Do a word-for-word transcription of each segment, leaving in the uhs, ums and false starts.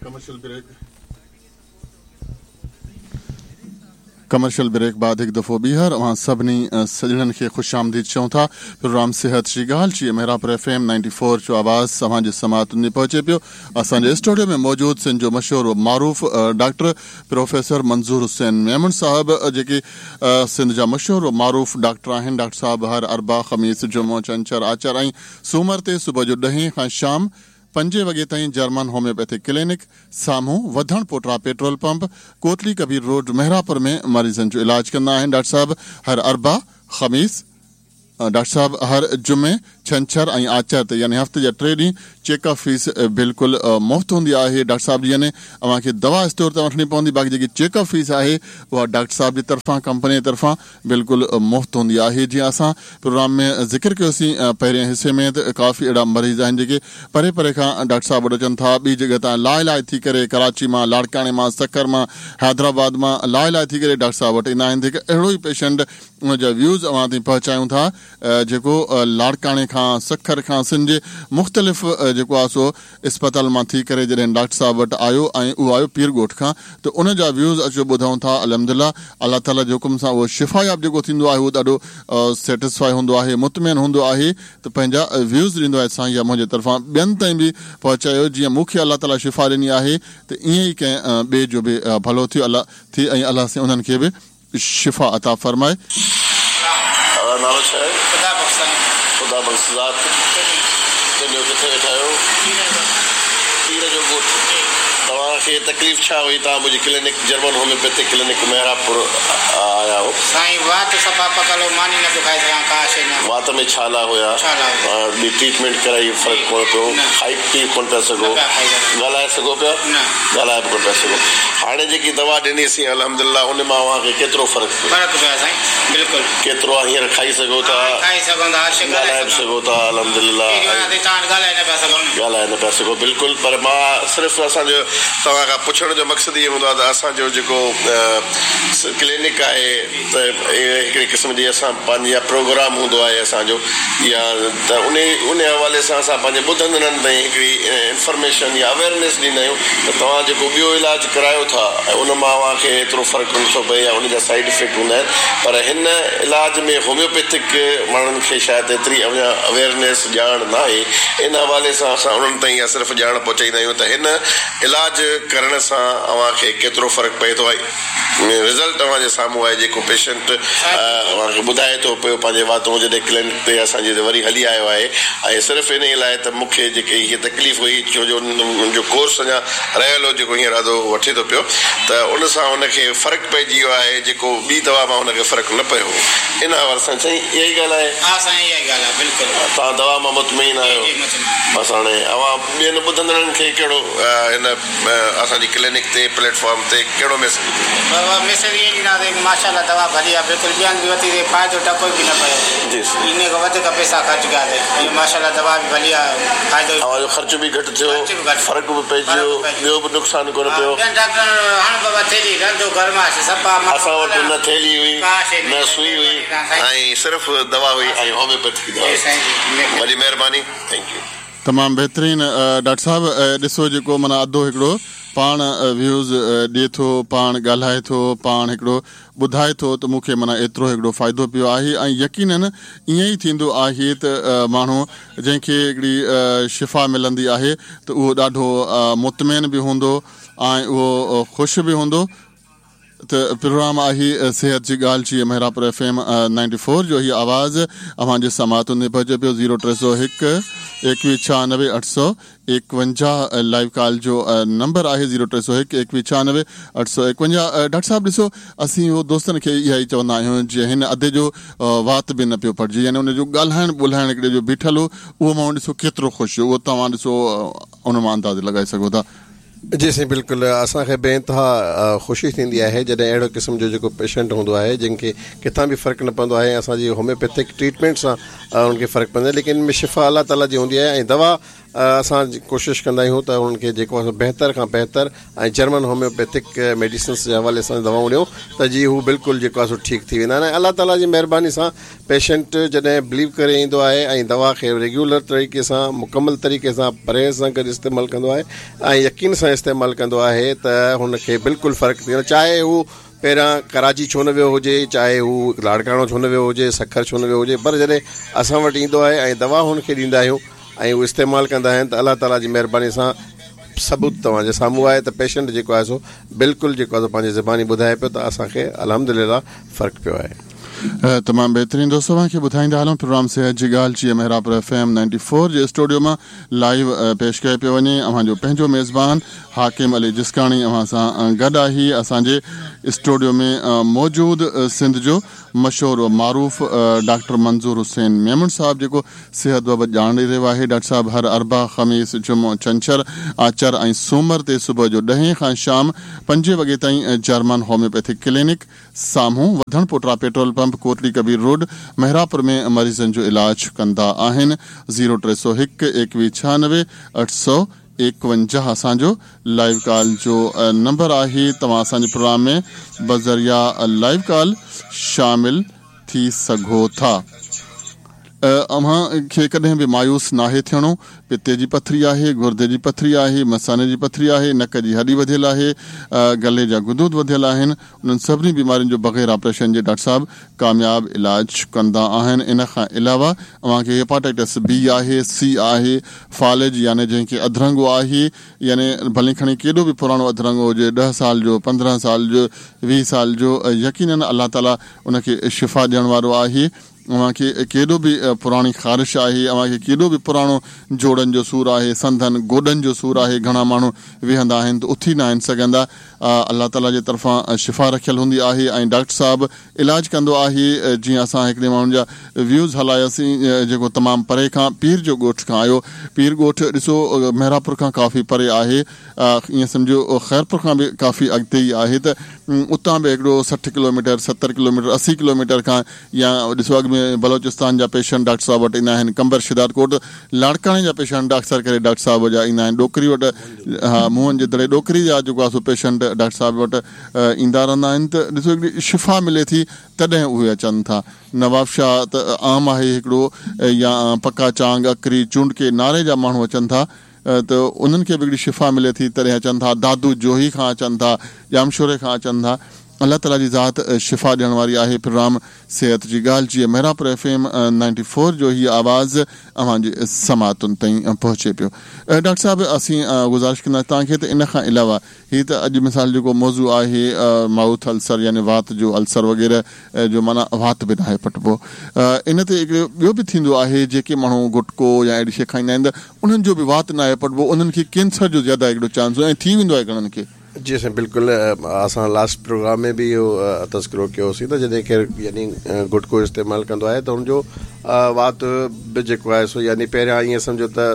Commercial break commercial break بعد هڪ دفعو ٻيهر اوهان سڀني سڄڻن کي خوش آمديد چئون ٿا. پروگرام صحت جي ڳالهه جي Mehrapur F M ninety four جو آواز اوهان جي سماعتن ۾ پهچي پيو. اسان جي اسٽوڊيو ۾ موجود سنڌ جو مشهور و معروف ڊاڪٽر پروفيسر منظور حسين ميمڻ صاحب، جيڪي سنڌ جا مشهور و معروف ڊاڪٽر آهن. ڊاڪٽر صاحب هر اربع، خميس، جمعو، ڇنڇر، آچر ۽ سومر تي صبح جو ڏهين کان شام پنجين وڳي تائين جرمن هوميوپيٿڪ ڪلينڪ سامهون وڌڻ پوٽرا petrol pump, Kotli Kabir road, Mehrapur ۾ مريضن جو علاج ڪندا آهن. ڊاڪٽر صاحب هر اربع، خميس، ڊاڪٽر صاحب هر جمعي، ڇنڇر ۽ آچر تي يعني هفتي جا ٽي ڏينهن چيڪ اپ فيس بلڪل مفت هوندي آهي. ڊاڪٽر صاحب جي يعني اوهان کي دوا اسٽور تان وٺڻي پوندي، باقي جيڪي چيڪ اپ فيس آهي اها ڊاڪٽر صاحب جي طرفان، ڪمپني جي طرفان بلڪل مفت هوندي آهي. جيئن اسان پروگرام ۾ ذڪر ڪيوسين پهرين حصي ۾ ته ڪافي اهڙا مريض آهن جيڪي پري پري کان ڊاڪٽر صاحب وٽ اچن ٿا، ٻي جڳهه تان لاءِ لاءِ ٿي ڪري ڪراچي مان، لاڙڪاڻي مان، سکر مان، حيدرآباد مان لاءِ لاءِ ٿي ڪري ڊاڪٽر صاحب وٽ ايندا آهن. ته هڪ اهڙو ئي پيشنٽ ان جا ويوز اوهان تائين پهچايون ٿا جيڪو لاڙڪاڻي کان، سکر کان، سنڌ جي مختلف جيڪو آهي سو اسپتال مان ٿي ڪري جڏهن ڊاڪٽر صاحب وٽ آيو ۽ اهو آيو پير ڳوٺ کان، ته ان جا ويوز اچو ٻڌون ٿا. الحمدلله الله تعاليٰ جي حڪم سان اهو شفاياب جيڪو ٿيندو آهي اهو ڏاڍو سيٽسفائي هوندو آهي، مطمئن هوندو آهي ته پنهنجا ويوز ڏيندو آهي. سائين يا منهنجي طرفان ٻين تائين به پهچايو، جيئن مون کي الله تعاليٰ شفا ڏني آهي ته ائين ئي ڪنهن ٻئي جو به ڀلو ٿيو الله ٿئي ۽ الله سائين انهن کي به شفا عطا فرمائي. نالو ڇا آهي؟ خدا بخش. خدا بخش. ذات تنهنجو؟ ڪٿي ويٺا آهيو؟ پير جو ڳوٺ. توهان کي تڪليف ڇا هئي؟ توهان منهنجي clinic German homeopathic clinic Mehrapur آيا هو. سائين وات صفا پڪل هو، ماني نه پيو کائي سگهان ڪا شيءِ نه. وات ۾ ڇالا هئا؟ ڇالا. ٻي ٽريٽمينٽ ڪرائي، فرق ڪونه پيو؟ کائي پي ڪونه پيا سگهو؟ ڳالهائي سگهو پيا؟ ڳالهائي به ڪونه پيا سگهو. هاڻي جيڪي دوا ڏنيسين الحمدلله ان مان اوهان کي ڪيترو فرق پيو؟ فرق پيو سائين بلڪل. ڪيترو آهي هينئر؟ کائي سگهو ٿا؟ کائي سگهون ٿا، ڳالهائي به سگهو ٿا الحمدلله. ڳالهائي نه پيا سگهون. ڳالهائي نه پيا سگهو بلڪل. پر مان صرف اسان جو توهان کان پڇڻ جو مقصد اهو هوندو آهي ته اسان جو جيڪو ڪلينڪ آهي ته هڪڙي قسم جي اسان پنهنجي پروگرام هوندو آهي اسان جو، يا ته ان ان حوالي سان اسان پنهنجي ٻڌندڙن تائين هڪڙي انفارميشن يا اويئرنيس ڏيندا آهيون ته توهان جيڪو ٻيو علاج ڪرايو ٿا ۽ ان مان اوهان کي ايترو فرق نٿو پئي يا ان جا سائيڊ افيڪٽ هوندا آهن، پر هن علاج ۾ هوميوپيٿڪ ماڻهن کي شايد ايتري اڃا اويئرنيس ڄاڻ نه آهي. ان حوالي سان اسان انهن تائين اها صرف ڄاڻ پهچائيندا آهيون ته هن علاج ڪرڻ سان اوهان کي ڪيترو فرق پئي ٿو. رزلٽ اوهان جي سامهون آهي. جيڪو پيشنٽ اوهان کي ٻڌائي ٿو پيو پنهنجي واتون، جڏهن ڪلينڪ تي اسان جي وري هلي آيو آهي ۽ صرف ان لاءِ ته مون کي جيڪي هيءَ تڪليف هئي، ڇو جو هن جو ڪورس اڃا رهيل هو جيڪو هينئر اڌو وٺي ٿو پيو، ته ان سان هن کي فرق پئجي ويو آهي، جيڪو ٻي دوا مان هن کي فرق نه پيو. ان حوالي سان سائين اها ئي ڳالهه آهي؟ ها سائين اها ئي ڳالهه آهي بلڪل. توهان دوا مان مطمئن آهيو؟ بس هاڻي اوهان ٻين ٻڌندڙن کي ڪهڙو هن اسان جي ڪلينڪ تي پليٽ فارم تي ڪهڙو ميسيج؟ بابا ميسيج اهو ڏينداسين ماشاءالله دوا ڀلي آهي بلڪل. ٻين به ورتي فائدو ٽڪو به نه پيو. جي ان کان وڌيڪ پئسا خرچ ڪياسين. ماشاءالله دوا به ڀلي آهي، فائدو اوهان جو خرچ به گهٽ ٿيو، فرق به پئجي ويو، ٻيو به نقصان ڪونه پيو. ٻين ڊاڪٽرن هاڻي بابا ٿيلهي رنڌو گرماش صفا. اسان وٽ نه ٿيلهي هئي نه سئي هئي ۽ صرف دوا هئي ۽ هوميوپيٿڪ دوا. وڏي مهرباني، thank you. تمام بهترين ڊاڪٽر صاحب. ڏسو جيڪو معنيٰ اڌو هڪڙو پاڻ ويوز ڏئي ٿو، پاڻ ڳالهائي ٿو، پاڻ هڪڙو ٻڌائي ٿو ته مون کي معنيٰ ايترو هڪڙو فائدو پيو آهي. ۽ يقينن ائين ئي ٿيندو آهي ته ماڻهو جنهن کي هڪڙي شفا ملندي آهي ته اهو ڏاڍو مطمئن به هوندو ۽ اهو خوش به هوندو. ته پروگرام آهي صحت جي ڳالهه جي Mehrapur F M ninety four جو هيءَ آواز اوهان جي سماعتن ۾ پهچي پيو. زيرو ٽي سؤ هڪ ايڪويهه ڇهانوي اٺ سؤ ايڪونجاهه لائيو ڪال جو نمبر آهي، زيرو ٽي سؤ هڪ ايڪويهه ڇهانوي اٺ سؤ ايڪونجاهه. ڊاڪٽر صاحب ڏسو اسين اهو دوستن کي اها ئي چوندا آهيون جيئن هن اڌي جو وات به نه پيو پٽجي، يعني ان جو ڳالهائڻ ٻولهائڻ هڪڙي جو بيٺل هو اهو ماڻهو ڏسو ڪيترو خوش هو، اهو توهان ڏسو ان مان انداز لڳائي سگهو ٿا. جي سائين بلڪل. اسان کي بي انتها خوشي ٿيندي آهي جڏهن اهڙو قسم جو جيڪو پيشنٽ هوندو آهي جنهن کي ڪٿان به فرق نه پوندو آهي، اسان جي هوميوپيٿڪ ٽريٽمينٽ سان ان کي فرق پوندو آهي، ليڪن ان ۾ شفا الله تعاليٰ جي هوندي آهي ۽ دوا असां कोशिश कंदा आहियूं त उन्हनि खे जेको आहे बहितर खां बहितर ऐं जर्मन होम्योपैथिक मेडिसिन्स जे हवाले सां दवाऊं ॾियूं त जीअं हू बिल्कुलु जेको आहे सो ठीकु थी वेंदा आहिनि। ऐं अलाह ताला जी महिरबानी सां पेशेंट जॾहिं बिलीव करे ईंदो आहे ऐं दवा खे रेगुलर तरीक़े सां मुकमल तरीक़े सां परहेज़ सां गॾु इस्तेमालु कंदो आहे ऐं यकीन सां इस्तेमालु कंदो आहे त हुनखे बिल्कुलु फ़र्क़ु थी वेंदो, चाहे हू पहिरियां कराची छो न वियो हुजे, चाहे हू लाड़काणो छो न वियो हुजे, सखर छो न वियो हुजे, पर जॾहिं असां वटि ईंदो आहे ऐं दवा हुनखे ॾींदा आहियूं ऐं उहो इस्तेमालु कंदा आहिनि त अलाह ताला जी महिरबानी सां सबूत तव्हांजे साम्हूं आहे त पेशेंट जेको आहे सो बिल्कुलु जेको आहे सो पंहिंजी ज़बानी ॿुधाए पियो त असांखे अल्हम्दुलिल्लाह फ़र्क़ु पियो आहे। तमामु बहितरीन दोस्तो, तव्हांखे ॿुधाईंदा हलूं प्रोग्राम सिहत जी ॻाल्हि जी Mehrapur F M ninety four जे स्टूडियो मां लाइव पेश कयो पियो वञे। अव्हांजो पंहिंजो मेज़बान हाकिम अली जिस्काणी अव्हां सां गॾु आहे। असांजे स्टूडियो में मौजूद सिंध जो मशहूर व मारूफ़ डॉक्टर मंज़ूर हुसैन मेमण साहब जेको सिहत बाबति ॼाण ॾेई रहियो आहे। डॉक्टर साहब हर अरबा, ख़मीस, जुमो, छंछर, आचर ऐं सूमर ते सुबुह जो ॾहें खां शाम पंजे वॻे ताईं जर्मन होम्योपैथिक क्लिनिक साम्हूं Wadhan Pota petrol pump, Kotli Kabir road, Mehrapur में मरीज़नि जो इलाज कंदा आहिनि। ज़ीरो टे सौ हिकु एकवीह छियानवे अठ सौ एकवंजाह असांजो लाइव कॉल जो नंबर आहे। तव्हां असांजे प्रोग्राम में बज़रिया लाइव कॉल शामिल थी सघो था। अव्हां खे कॾहिं बि मायूस नाहे थियणो। पित्ते जी पथरी आहे, गुर्दे जी पथरी आहे, मसाने जी पथरी आहे, नक जी हॾी वधियल आहे, गले जा गुदूद वधियल आहिनि, उन्हनि सभिनी बीमारियुनि जो बग़ैर ऑपरेशन जे डॉक्टर साहब कामयाब इलाज कंदा आहिनि। इन खां अलावा अव्हांखे हेपाटाइटिस बी आहे, सी आहे, फालिज यानी जंहिंखे अधरंगो आहे, यानी भले खणी केॾो बि पुराणो अधरंगो हुजे, ॾह साल जो, पंद्रहं साल जो, वीह साल जो, यकीनन अलाह ताला उनखे शिफ़ा ॾियण वारो आहे। अव्हांखे केॾो बि पुराणी ख़ारिश आहे, अव्हांखे केॾो बि पुराणो जोड़नि जो सूर आहे, संधनि गोॾनि जो सूर आहे, घणा माण्हू वेहंदा आहिनि त उथी न आहिनि सघंदा, अलाह ताला जे तरफ़ां शिफ़ा रखियल हूंदी आहे ऐं डॉक्टर साहब इलाज कंदो आहे। जीअं असां हिकिड़े माण्हुनि जा व्यूज़ हलायासीं जेको तमामु परे खां पीर जो ॻोठ खां आयो। पीर ॻोठ ॾिसो मेहरापुर खां काफ़ी परे आहे, ईअं सम्झो ख़ैरपुर खां बि काफ़ी अॻिते ई आहे, त उतां बि हिकिड़ो सठि किलोमीटर, सतरि किलोमीटर, असी किलोमीटर खां या ॾिसो अॻु में बलोचिस्तान जा पेशेंट डॉक्टर साहब वटि ईंदा आहिनि, कंबर शिदारकोट लाड़काणे जा पेशेंट अक्सर करे डॉक्टर साहब जा ईंदा आहिनि, ॾोकरी वटि, हा मोहन जे दड़े ॾोकरी जा जेको आहे सो पेशेंट डॉक्टर साहब वटि ईंदा रहंदा आहिनि। त ॾिसो हिकिड़ी शिफ़ा मिले थी तॾहिं उहे अचनि था। नवाबशाह त आम आहे हिकिड़ो, या पका चांग, अकरी, चूंडके, नारे जा माण्हू अचनि था त उन्हनि खे बि हिकिड़ी शिफ़ा मिले थी तॾहिं अचनि था। दादू जोही खां अचनि था, ॼामशोरे खां अचनि था। अलाह ताला जी ज़ात शिफ़ा ॾियण वारी आहे। प्रोग्राम सिहत जी ॻाल्हि जी Mehrapur F M ninety four जो हीअ आवाज़ अव्हांजे समातुनि ताईं पहुचे पियो। डॉक्टर साहब, असीं गुज़ारिश कंदासीं तव्हांखे त इन खां अलावा हीअ त अॼु मिसाल जेको मौज़ू आहे माउथ अल्सर यानी वात जो अल्सर वग़ैरह जो माना वात बि नाहे पटबो, इन ते हिकिड़ो ॿियो बि थींदो आहे जेके माण्हू गुटको या अहिड़ी शइ खाईंदा आहिनि त उन्हनि जो बि वात नाहे पटबो, उन्हनि खे कैंसर जो ज़्यादा हिकिड़ो चांस ऐं थी वेंदो आहे घणनि खे। जी साईं बिल्कुलु, असां लास्ट प्रोग्राम में बि इहो तज़किरो कयोसीं त जॾहिं केरु यानी गुटको इस्तेमालु कंदो आहे त हुनजो वात बि जेको आहे सो यानी पहिरियां ईअं सम्झो त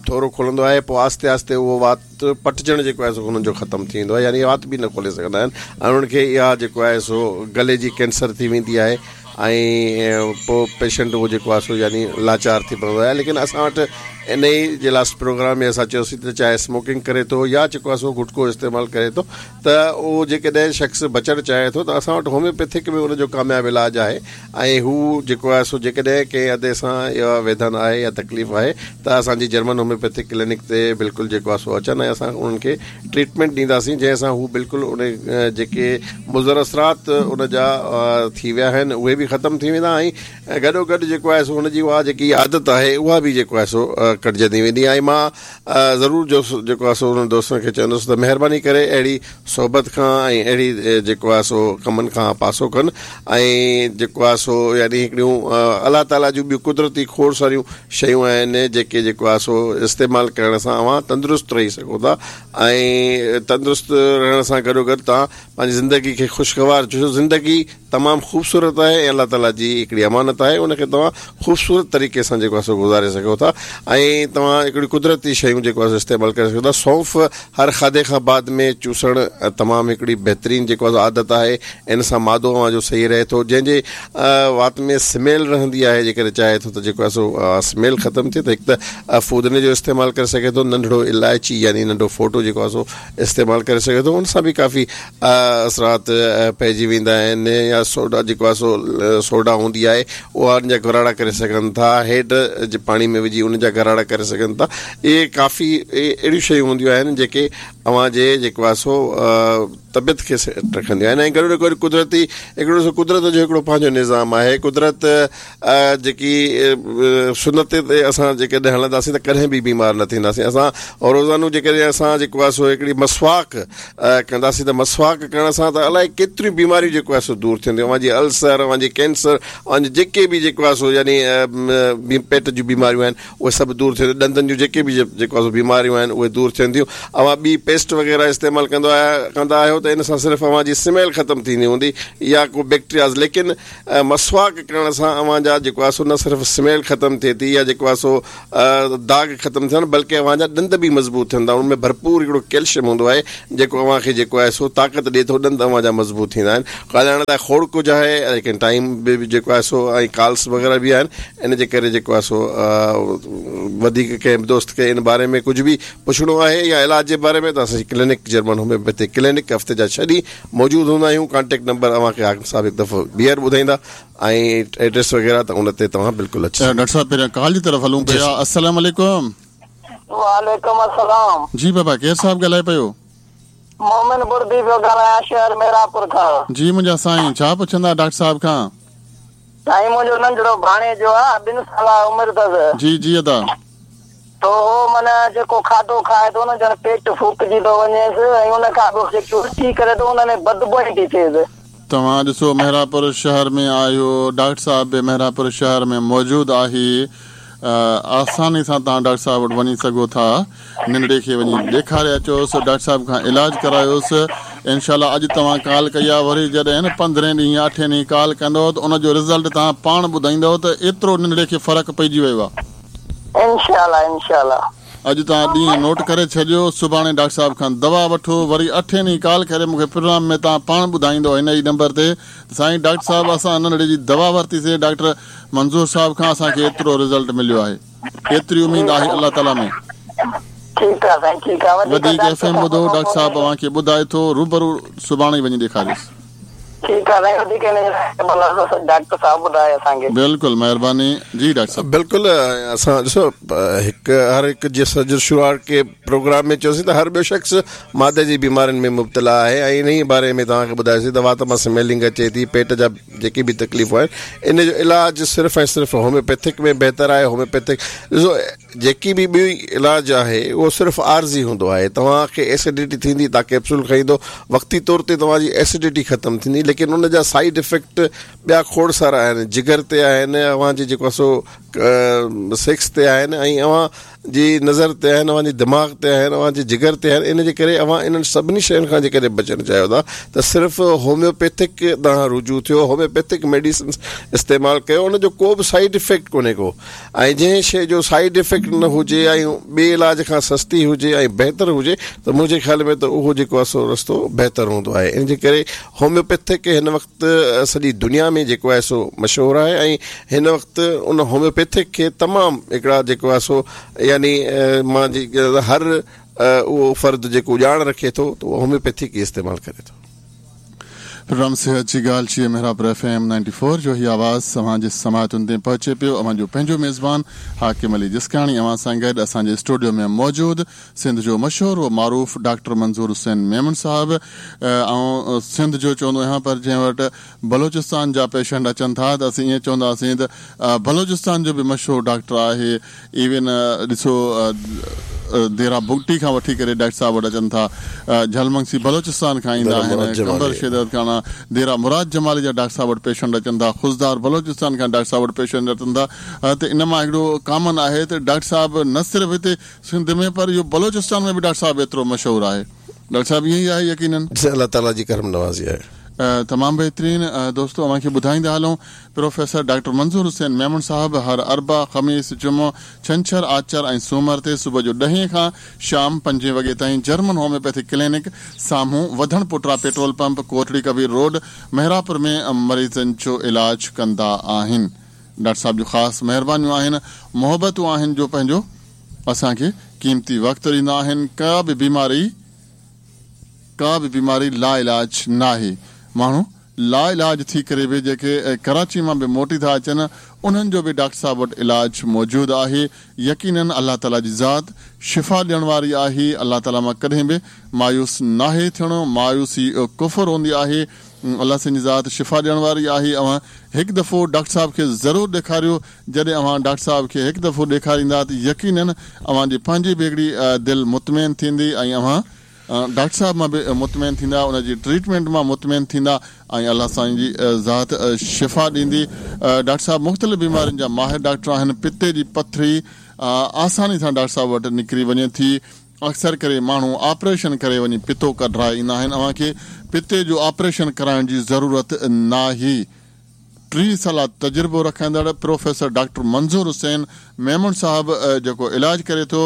थोरो खुलंदो आहे, पोइ आहिस्ते आहिस्ते उहो वात पटिजणु जेको आहे सो हुननि जो ख़तमु थी वेंदो आहे, यानी वात बि न खोले सघंदा आहिनि ऐं उन्हनि खे इहा जेको आहे सो गले जी कैंसर थी वेंदी आहे ऐं पोइ पेशेंट उहो जेको आहे सो यानी लाचार थी पवंदो आहे। लेकिन असां वटि इन ई जे लास्ट प्रोग्राम में असां चयोसीं त चाहे स्मोकिंग करे थो या जेको आहे सो गुटको इस्तेमालु करे थो त उहो जेकॾहिं शख़्स बचणु चाहे थो त असां वटि होम्योपैथिक में हुनजो कामयाबु इलाज आहे ऐं हू जेको आहे सो जेकॾहिं कंहिं हद सां इहा वेदन आहे या तकलीफ़ आहे त असांजी जर्मन होम्योपैथिक क्लिनिक ते बिल्कुलु जेको आहे सो अचनि ऐं असां उन्हनि खे ट्रीटमेंट ॾींदासीं जंहिंसां हू बिल्कुलु उन जेके मुज़र असरात उन जा थी विया आहिनि उहे बि ख़तमु थी वेंदा ऐं गॾो गॾु जेको आहे सो हुनजी उहा जेकी आदत आहे उहा बि जेको आहे सो कटिजंदी वेंदी। ऐं मां ज़रूरु जो जेको आहे सो उन्हनि दोस्तनि खे चवंदुसि त महिरबानी करे अहिड़ी सोहबत खां ऐं अहिड़ी जेको आहे सो कमनि खां पासो कनि ऐं जेको आहे सो यानी हिकिड़ियूं अलाह ताला जूं ॿियूं कुदरती खोड़ सारियूं शयूं आहिनि जेके जेको आहे सो इस्तेमालु करण सां अव्हां तंदुरुस्त रही सघो था ऐं तंदुरुस्त रहण सां गॾो गॾु तव्हां पंहिंजी ज़िंदगी खे ख़ुशगवार, छो ज़िंदगी तमामु ख़ूबसूरत आहे ऐं अलाह ताला जी हिकिड़ी अमानत आहे, उनखे तव्हां ख़ूबसूरत तरीक़े सां जेको आहे सो गुज़ारे सघो था ऐं तव्हां हिकिड़ी कुदरती शयूं जेको आहे इस्तेमालु करे सघो था। सौंफ़ हर खाधे खां बाद में चूसण तमामु हिकिड़ी बहितरीन जेको आहे आदत आहे, इन सां मादो अव्हांजो सही रहे थो। जंहिंजे वात में स्मेल रहंदी आहे, जेकॾहिं चाहे थो त जेको आहे सो स्मेल ख़तमु थिए त हिकु त फूदने जो इस्तेमालु करे सघे थो, नंढड़ो इलायची यानी नंढो फोटो जेको आहे सो इस्तेमालु करे सघे थो, उन सां बि काफ़ी असरात पइजी वेंदा आहिनि। या सोडा जेको आहे सो सोडा हूंदी आहे उहा उन जा गराड़ा करे सघनि था, हेड जे पाणी में विझी उन जा गराड़ा करे सघनि था। इहे काफ़ी अहिड़ियूं शयूं हूंदियूं आहिनि जेके अव्हांजे जेको आहे सो तबियत खे सेट रखंदियूं आहिनि। ऐं गॾो गॾु कुदरती हिकिड़ो सो कुदरत जो हिकिड़ो पंहिंजो निज़ाम आहे। कुदरत जेकी सुनत ते असां जेकॾहिं हलंदासीं त कॾहिं बि बीमार न थींदासीं। असां रोज़ानो जेकॾहिं असां जेको आहे सो हिकिड़ी मसवाक कंदासीं त मसवाक करण सां त अलाए केतिरियूं बीमारियूं जेको आहे सो दूर थींदियूं। अव्हांजी अल्सर, अव्हांजी कैंसर, अव्हांजे जेके बि जेको आहे सो यानी पेट जूं बीमारियूं आहिनि उहे सभु दूर थींदियूं। ॾंदनि जूं जेके बि जेको आहे सो बीमारियूं आहिनि उहे दूर थियनि थियूं। अव्हां ॿी पेस्ट वग़ैरह इस्तेमालु कंदो आहियो कंदा आहियो त इन सां सिर्फ़ु अव्हांजी स्मेल ख़तमु थींदी हूंदी या को बैक्टीरियाज़, लेकिन मसवाक करण सां अव्हांजा जेको आहे सो न सिर्फ़ु स्मेल ख़तमु थिए थी या जेको आहे सो दाग़ ख़तमु थियनि, बल्कि अव्हांजा ॾंद बि मज़बूत थियनि था। उन में भरपूर हिकिड़ो कैल्शियम हूंदो आहे जेको अव्हांखे जेको आहे सो ताक़त ॾिए थो, ॾंद अव्हांजा मज़बूत थींदा आहिनि। ॻाल्हाइण लाइ खोड़ कुझु आहे, लेकिन टाइम बि जेको आहे सो ऐं कॉल्स वग़ैरह बि आहिनि, इन जे करे जेको आहे सो वधीक कंहिं बि दोस्त खे इन बारे में कुझु बि पुछणो आहे या इलाज जे बारे में त असांजी क्लिनिक जर्मन होम्योपैथिक क्लिनिक हफ़्ते जा छह ॾींहुं मौजूदु हूंदा आहियूं। कॉन्टेक्ट नंबर अव्हांखे हाकिम साहिबु हिकु दफ़ो ॿीहर ॿुधाईंदा ऐं एड्रेस वग़ैरह त उन ते तव्हां बिल्कुलु अची। डॉक्टर साहिबु पहिरियां कॉल जी तरफ़ हलूं पिया। अस्सलाम वालेकुम। वालेकुम अस्सलाम। जी बाबा, केरु साहिबु ॻाल्हाए पियो? मोमिन बुर्दी पियो ॻाल्हायां, शहर मेरापुर खां। जी मुंहिंजा साईं, छा पुछंदा डॉक्टर साहिब खां? साईं मुंहिंजो नंढड़ो भाणेजो आहे, ॿिनि साल उमिरि अथसि। जी जी अदा। तो हो माना जेको खाधो खाए थो न, ॼण पेट फूकिजी थो वञेसि ऐं उन खां पोइ जेकी उल्टी करे थो उन में बदबू थी थिएसि। तव्हां ॾिसो मेहरापुर शहर में आहियो, डॉक्टर साहिबु बि मेहरापुर शहर में मौजूदु आहे। आसानी सां तव्हां डॉक्टर साहिबु वटि वञी सघो था। नंढड़े खे वञी ॾेखारे अचोसि, डॉक्टर साहिबु खां इलाज करायोसि। इनशाला अॼु तव्हां कॉल कई आहे, वरी जॾहिं न पंद्रहें ॾींहुं या अठे ॾींहुं कॉल कंदव त उनजो रिज़ल्ट तव्हां पाण ॿुधाईंदव त एतिरो नंढड़े खे फ़र्क़ु पइजी वियो आहे। इंशाल्लाह इंशाल्लाह। अॼु तव्हां ॾींहुं नोट करे छॾियो, सुभाणे डॉक्टर साहिबु खां दवा वठो, वरी अठे ॾींहुं कॉल करे मूंखे प्रोग्राम में तव्हां पाण ॿुधाईंदो हिन ई नंबर ते, साईं डॉक्टर साहिबु असां नंढड़े जी दवा वरितीसीं डॉक्टर मंज़ूर साहिबु खां, असांखे एतिरो रिज़ल्ट मिलियो आहे, एतिरी उमेद आहे अलाह ताला में। ठीकु आहे साईं, ठीकु आहे। वधीक एफ एम ॿुधो, डॉक्टर साहिबु अव्हांखे ॿुधाए थो, रूबरू सुभाणे ई वञी ॾेखारियोसि। ठीकु आहे साईं, वधीक डॉक्टर साहिबु ॿुधाए असांखे। बिल्कुलु, महिरबानी जी डॉक्टर साहिबु। बिल्कुलु, असां ॾिसो हिकु हर हिकु जे शुरूआत के प्रोग्राम में चयोसीं त हर ॿियो शख़्स मादे जी बीमारियुनि में मुब्तला आहे ऐं इन ई बारे में तव्हांखे ॿुधायोसीं त वात मां स्मेलिंग अचे थी, पेट जा जेके बि तकलीफ़ूं आहिनि, इन जो इलाज सिर्फ़ु ऐं सिर्फ़ु होम्योपैथिक में बहितर आहे। होम्योपैथिक ॾिसो जेकी बि ॿी इलाज आहे उहो सिर्फ़ु आर्ज़ी हूंदो आहे। तव्हांखे एसिडिटी थींदी, तव्हां कैप्सूल खाईंदो, वक़्ती तौर ते तव्हांजी एसिडिटी ख़तमु थींदी, लेकिन उन जा साइड इफ़ेक्ट ॿिया खोड़ सारा आहिनि, जिगर ते आहिनि, अव्हांजे जेको आहे सो सेक्स ते आहिनि ऐं अव्हांजी नज़र ते आहिनि, अव्हांजे दिमाग़ ते आहिनि, अव्हांजे जिगर ते आहिनि। इन जे करे अव्हां इन्हनि सभिनी शयुनि खां जेकॾहिं बचणु चाहियो था त सिर्फ़ु होम्योपैथिक ॾांहुं रुजू थियो, होम्योपैथिक मेडिसिन इस्तेमालु कयो, उनजो को बि साइड इफ़ेक्ट कोन्हे को। ऐं जंहिं शइ जो साइड इफ़ेक्ट न हुजे ऐं ॿिए इलाज खां सस्ती हुजे ऐं बहितर हुजे त मुंहिंजे ख़्याल में त उहो जेको आहे सो रस्तो बहितर हूंदो आहे। इन जे करे होम्योपैथिक हिन वक़्तु सॼी दुनिया में जेको आहे सो मशहूरु आहे ऐं हिन वक़्तु उन होम्योपैथिक खे तमामु हिकिड़ा जेको आहे सो यानी मां हर उहो फ़र्द जेको ॼाण रखे थो त उहो होम्योपैथिक ई इस्तेमालु करे थो। प्रोग्राम सेहत जी ॻाल्हि जी Mehrapur F M ninety four जो हीउ आवाज़ अव्हांजे समाअतुनि ते पहुचे पियो। अव्हांजो पंहिंजो मेज़बान हाकिम अली जिस्काणी अव्हां सां गॾु असांजे स्टूडियो में मौजूदु सिंध जो मशहूर व मारूफ़ डॉक्टर मंज़ूर हुसैन मेमन साहिबु। ऐं सिंध जो चवंदो आहियां, पर जंहिं वटि बलोचिस्तान जा पेशेंट अचनि था त असीं ईअं चवंदासीं त बलोचिस्तान जो बि मशहूरु डॉक्टर आहे। इवन ॾिसो देरा बुगटी खां वठी करे डॉक्टर साहिबु वटि अचनि था, झलमंगसी बलोचिस्तान खां ईंदा आहिनि, कंबर शेदत खां, देरा मुराद जमाली जा डॉक्टर साहिबु वटि पेशेंट अचनि था, खुज़दार बलोचिस्तान खां डॉक्टर साहिबु वटि पेशेंट अचनि था। त इन मां हिकिड़ो कॉमन आहे त डॉक्टर साहिबु न सिर्फ़ु हिते सिंध में पर इहो बलोचिस्तान में बि डॉक्टर साहिबु एतिरो मशहूरु आहे। डॉक्टर साहिबु ईअं ई आहे यकीनन? अलाह ताला जी करम नवाज़ी आहे। तमामु बहितरीन दोस्तो अव्हांखे ॿुधाईंदा हलूं प्रोफेसर डॉक्टर मंज़ूर हुसैन मेमण साहब हर अरबा ख़मीस जुमो छंछर आचर ऐं सूमर ते सुबुह जो ॾहें खां शाम पंजे वॻे ताईं जर्मन होम्योपैथी क्लिनिक साम्हूं वधण पुटरा petrol pump Kotri Kabir road Mehrapur में मरीज़नि जो इलाज कंदा आहिनि। डॉक्टर साहब जूं ख़ासि महिरबानियूं आहिनि, मोहबतूं आहिनि जो पंहिंजो असांखे क़ीमती वक़्तु ॾींदा आहिनि। का बि बीमारी का बि बीमारी ला इलाज नाहे। माण्हू ला इलाज थी करे बि जेके कराची मां बि मोटी था अचनि उन्हनि जो बि डॉक्टर साहब वटि इलाज मौजूदु आहे। यकीनन अलाह ताला जी ज़ात शिफ़ा ॾियण वारी आहे। अलाह ताला मां कॾहिं बि मायूस नाहे थियणो। मायूसी कुफर हूंदी आहे। अलाह साईं जी ज़ात शिफ़ा ॾियण वारी आहे। अव्हां हिकु दफ़ो डॉक्टर साहब खे ज़रूरु ॾेखारियो। जॾहिं अव्हां डॉक्टर साहब खे हिकु दफ़ो ॾेखारींदा त यकीनन अव्हांजी पंहिंजी बि हिकिड़ी दिलि मुतमैन थींदी ऐं अव्हां डॉक्टर साहब मां बि मुतमैन थींदा, उनजी ट्रीटमेंट मां मुतमैन थींदा ऐं अलाह साईं जी ज़ात शिफ़ा ॾींदी। डॉक्टर साहब मुख़्तलिफ़ बीमारियुनि जा माहिर डॉक्टर आहिनि। पित्ते जी पथरी आसानी सां डॉक्टर साहब वटि निकिरी वञे थी। अक्सर करे माण्हू ऑपरेशन करे वञी पित्तो कढाए ईंदा आहिनि। अव्हांखे पित्ते जो ऑपरेशन कराइण जी ज़रूरत नाहे। टीह साल तजुर्बो रखंदड़ प्रोफेसर डॉक्टर मंज़ूर हुसैन मेमण साहब जेको इलाज करे थो,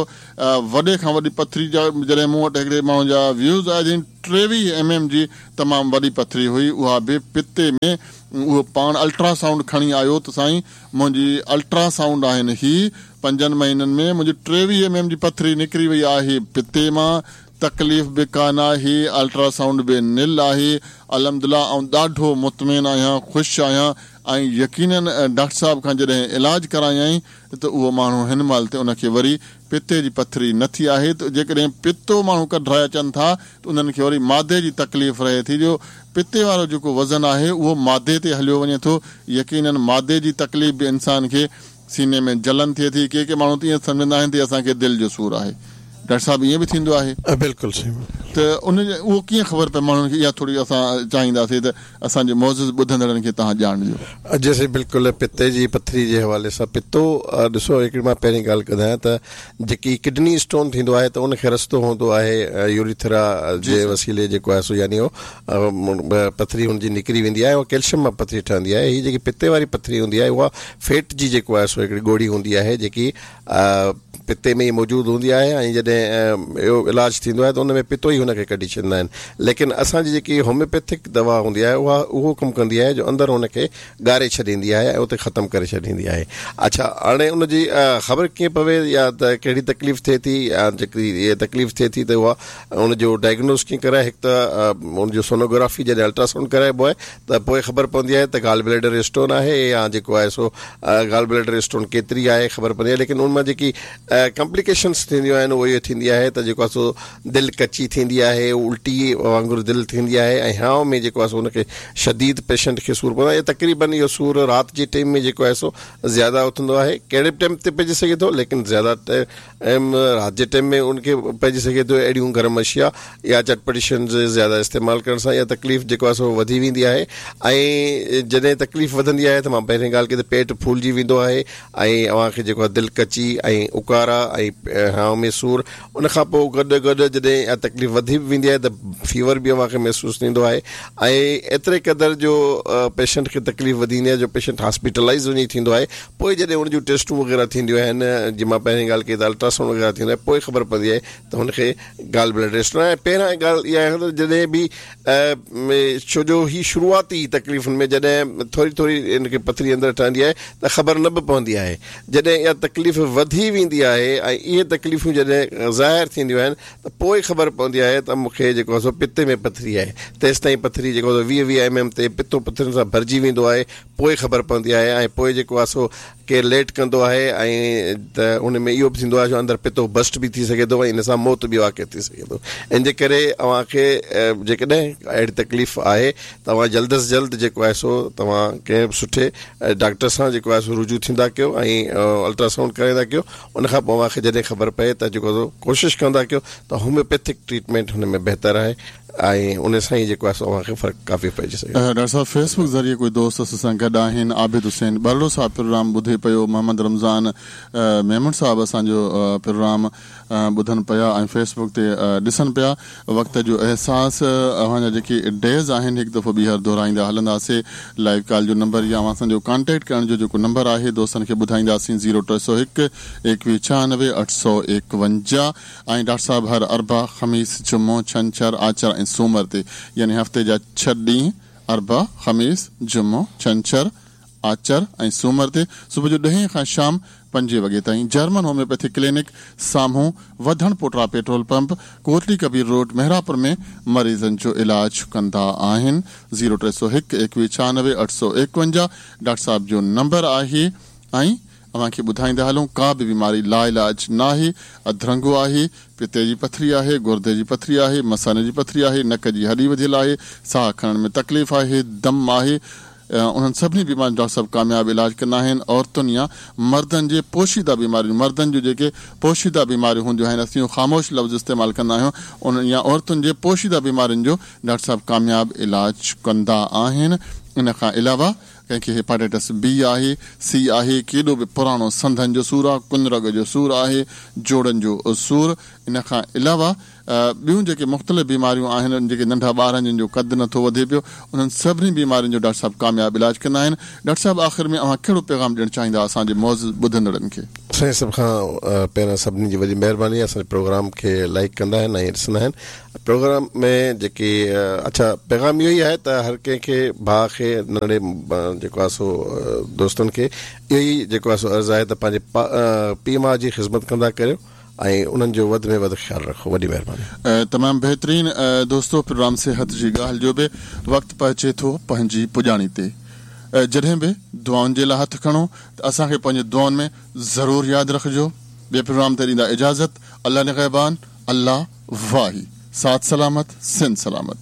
वॾे खां वॾी पथरी जा जॾहिं मूं वटि हिकिड़े माण्हू जा व्यूज़ आया आहिनि, टेवीह एम एम जी तमामु वॾी पथरी हुई, उहा बि पित्ते में। उहो पाण अल्ट्रासाउंड खणी आयो त साईं मुंहिंजी अल्ट्रासाउंड आहिनि ही पंजनि महीननि में मुंहिंजी टेवीह एम एम जी पथरी निकिरी वई आहे पित्ते मां, तकलीफ़ बि कान आहे, अल्ट्रासाउंड बि निल आहे। अल्हम्दुलिल्लाह आउं ॾाढो मुतमैन आहियां, ख़ुशि आहियां ऐं यकीनन डॉक्टर साहब खां जॾहिं इलाज करायाईं त उहो माण्हू हिन महिल ते उनखे वरी पित्ते जी पथरी न थी आहे। त जेकॾहिं पित्तो माण्हू कढाए अचनि था त उन्हनि खे वरी मादे जी तकलीफ़ रहे थी, जो पित्ते वारो जेको वज़न आहे उहो मादे ते हलियो वञे थो। यकीनन मादे जी तकलीफ़ बि इंसान खे सीने में जलन थिए थी। के के माण्हू त ईअं सम्झंदा आहिनि त असांखे दिलि जो सूर आहे। डॉक्टर साहब ईअं बि थींदो आहे? बिल्कुलु सही। त उन उहो कीअं ख़बर पए माण्हुनि खे? इहा थोरी असां चाहींदासीं त असांजे मौज़ूद ॿुधंदड़नि खे तव्हां ॼाण ॾियो। जैसे बिल्कुलु पित्ते जी पथरी जे हवाले सां पित्तो ॾिसो, हिकिड़ी मां पहिरीं ॻाल्हि कदां त जेकी किडनी स्टोन थींदो आहे त उनखे रस्तो हूंदो आहे यूरिथ्रा जे वसीले जेको आहे सो यानी उहो पथरी हुनजी निकिरी वेंदी आहे, उहा कैल्शियम मां पथरी ठहंदी आहे। हीअ जेकी पित्ते वारी पथरी हूंदी आहे उहा फैट जी जेको आहे सो हिकिड़ी ॻोढ़ी हूंदी आहे जेकी पित्ते में ई मौजूदु हूंदी आहे ऐं जॾहिं इहो इलाज थींदो आहे त उन में पित्तो ई हुनखे कढी छॾींदा आहिनि। लेकिन असांजी जेकी होम्योपैथिक दवा हूंदी आहे उहा उहो कमु कंदी आहे जो अंदरि हुनखे ॻारे छॾींदी आहे ऐं उते ख़तमु करे छॾींदी आहे। अच्छा, हाणे उनजी ख़बर कीअं पवे या त कहिड़ी तकलीफ़ थिए थी या जेकी इहा तकलीफ़ थिए थी त उहा उनजो डायग्नोस कीअं कराए? हिकु त उनजो सोनोग्राफी जॾहिं अल्ट्रासाउंड कराइबो आहे त पोइ ख़बर पवंदी आहे त गाल ब्लैडर स्टोन आहे या जेको आहे सो गाल ब्लैडर स्टोन केतिरी आहे ख़बर पवंदी आहे। लेकिन उन मां जेकी कॉम्प्लिकेशंस थींदियूं आहिनि उहो इहो थींदी आहे त जेको आहे सो दिलि कची थींदी आहे, उल्टी वांगुरु दिलि थींदी आहे ऐं हांव में जेको आहे सो हुनखे शदीद पेशेंट खे सूर पवंदो आहे। तक़रीबन इहो सूर राति जे टाइम में जेको आहे सो ज़्यादा उथंदो आहे, कहिड़े बि टाइम ते पइजी सघे थो, लेकिन ज़्यादा टाइम राति जे टाइम में उनखे पइजी सघे थो। अहिड़ियूं गरम अशिया या चटपटी शयुनि ज़्यादा इस्तेमालु करण सां इहा तकलीफ़ जेको आहे सो वधी वेंदी आहे ऐं जॾहिं तकलीफ़ वधंदी आहे त मां पहिरीं ॻाल्हि कई त पेट फूलिजी वेंदो आहे ऐं अव्हांखे जेको आहे दिलि कची ऐं उकारा ऐं हांव में सूर। उन खां पोइ गॾु गॾु जॾहिं इहा तकलीफ़ वधी बि वेंदी आहे त फीवर बि अव्हांखे महसूसु थींदो आहे ऐं एतिरे क़दर जो पेशेंट खे तकलीफ़ वधी वेंदी आहे जो पेशेंट हॉस्पिटलाइज़ वञी थींदो आहे। पोइ जॾहिं हुन जूं टेस्टूं वग़ैरह थींदियूं आहिनि, जीअं मां पहिरीं ॻाल्हि कई त अल्ट्रासाउंड वग़ैरह थींदो आहे, पोइ ख़बर पवंदी आहे त हुनखे गाल ब्लैडर स्टोन आहे। पहिरियां ॻाल्हि इहा आहे त जॾहिं बि छो जो हीअ शुरूआती तकलीफ़ुनि में जॾहिं थोरी थोरी हिनखे पथरी अंदरि ठहंदी आहे त ख़बर न बि पवंदी आहे। जॾहिं इहा तकलीफ़ वधी वेंदी आहे ऐं इहे तकलीफ़ूं जॾहिं ज़ाहिर थींदियूं आहिनि त पोइ ख़बर पवंदी आहे त मूंखे जेको आहे सो पित्ते में पथरी आहे। तेसि ताईं पथरी जेको आहे वीह वीह एम एम ते पित्तो पथरनि सां भरिजी वेंदो आहे, पोइ ख़बर पवंदी आहे ऐं पोइ जेको आहे सो केरु लेट कंदो आहे ऐं त उन में इहो बि थींदो आहे जो अंदरि पित्तो बस्ट बि थी सघे थो ऐं इन सां मौत बि वाक़ई थी सघे थो। इन जे करे अव्हांखे जेकॾहिं अहिड़ी तकलीफ़ आहे तव्हां जल्द अज़ जल्द जेको आहे सो तव्हां कंहिं बि सुठे डॉक्टर सां जेको आहे सो रुजू थींदा कयो ऐं अल्ट्रासाउंड कराईंदा कयो। उन खां पोइ अव्हांखे जॾहिं ख़बर पए त जेको सो कोशिशि कंदा कयो त होम्योपैथिक ट्रीटमेंट हुन में बहितर आहे ऐं उन सां ई जेको आहे सो अव्हांखे फ़र्क़ु काफ़ी पइजी सघे। डॉक्टर साहब, फेसबुक ज़रिए कोई दोस्त असां सां गॾु आहिनि, आबिद हुसैन बरड़ो साहब प्रोग्राम ॿुधे पियो। मोहम्मद रमज़ान मेमण साहब असांजो प्रोग्राम ॿुधनि पिया ऐं फेसबुक ते ॾिसनि पिया। वक़्त जो अहसास अव्हांजा जेके डेज़ आहिनि हिकु दफ़ो ॿीहर दोहराईंदा हलंदासीं। लाइव कॉल जो नंबर या अव्हां असांजो कॉन्टेक्ट करण जो जेको नंबर आहे दोस्तनि खे ॿुधाईंदासीं ज़ीरो टे सौ हिकु एकवीह छियानवे अठ सौ एकवंजाह। ऐं डॉक्टर साहब हर अरबा ख़मीस जुमो छंछर आचर ऐं सूमर ते यानी हफ़्ते जा छह ॾींहं अरबा ख़मीस जुमो छंछर आचर ऐं सूमर ते सुबुह जो ॾहें खां शाम पंजे वॻे ताईं जर्मन होम्योपैथी क्लिनिक साम्हूं Wadhan Pota petrol pump Kotli Kabir road Mehrapur में मरीज़नि जो इलाज कंदा आहिनि। ज़ीरो टे सौ हिकु एकवीह छियानवे अठ सौ एकवंजाह डॉक्टर साहब जो नंबर आहे। ऐं अव्हांखे ॿुधाईंदा हलूं का बि बीमारी लाइलाज न आहे, अधरंगो आहे, पिते जी पथरी आहे, गुर्दे जी पथरी आहे, मसाने जी पथरी आहे, नक जी हॾी वधियल आहे, साह खणण में तकलीफ़ आहे, दम आहे, उन्हनि सभिनी बीमारियुनि जो डॉक्टर साहब कामयाबु इलाज कंदा आहिनि। औरतुनि या मर्दनि जे पोशीदा बीमारियूं, मर्दनि जूं जेके पोशीदा बीमारियूं हूंदियूं आहिनि, असीं ख़ामोश लफ़्ज़ इस्तेमालु कंदा आहियूं, उन्हनि या औरतुनि जे पोशीदा बीमारियुनि जो डॉक्टर साहब कामयाबु इलाज कंदा आहिनि। इन खां अलावा कंहिंखे हेपाटाइटिस बी आहे, सी आहे, केॾो बि पुराणो संधनि जो सूर आहे, कुनरग जो सूर आहे, जोड़नि जो सूर, इन खां अलावा ॿियूं जेके मुख़्तलिफ़ बीमारियूं आहिनि, जेके नंढा ॿार आहिनि जिन जो क़दु नथो वधे पियो, उन्हनि सभिनी बीमारियुनि जो डॉक्टर साहब कामयाबु इलाज कंदा आहिनि। डॉक्टर साहब आख़िर में अव्हां कहिड़ो पैगाम ॾियणु चाहींदा असांजे मौज़ ॿुधंदड़नि खे? साईं सभ खां पहिरियां सभिनी जी वॾी महिरबानी, असांजे प्रोग्राम खे लाइक कंदा आहिनि ऐं ॾिसंदा आहिनि। प्रोग्राम में जेके अच्छा पैगाम इहो ई आहे त हर कंहिंखे भाउ खे नंढे जेको आहे सो दोस्तनि खे इहो ई जेको आहे सो अर्ज़ु आहे त पंहिंजे पीउ माउ जी ख़िदमत कंदा करियो ऐं उन्हनि जो वधि में वधि ख़्यालु रखो। वॾी महिरबानी। तमामु बहितरीन दोस्तो, प्रोग्राम सेहत जी ॻाल्हि जो बि वक़्तु पहुचे थो पंहिंजी पुॼाणी ते। जॾहिं बि दुआउनि जे लाइ हथु खणो त असांखे पंहिंजे दुआउनि में ज़रूरु यादि रखिजो। ॿिए प्रोग्राम ते ॾींदा इजाज़त। अल्लाह निगहबान, अल्लाह वाही, साथ सलामत, सिंध सलामत।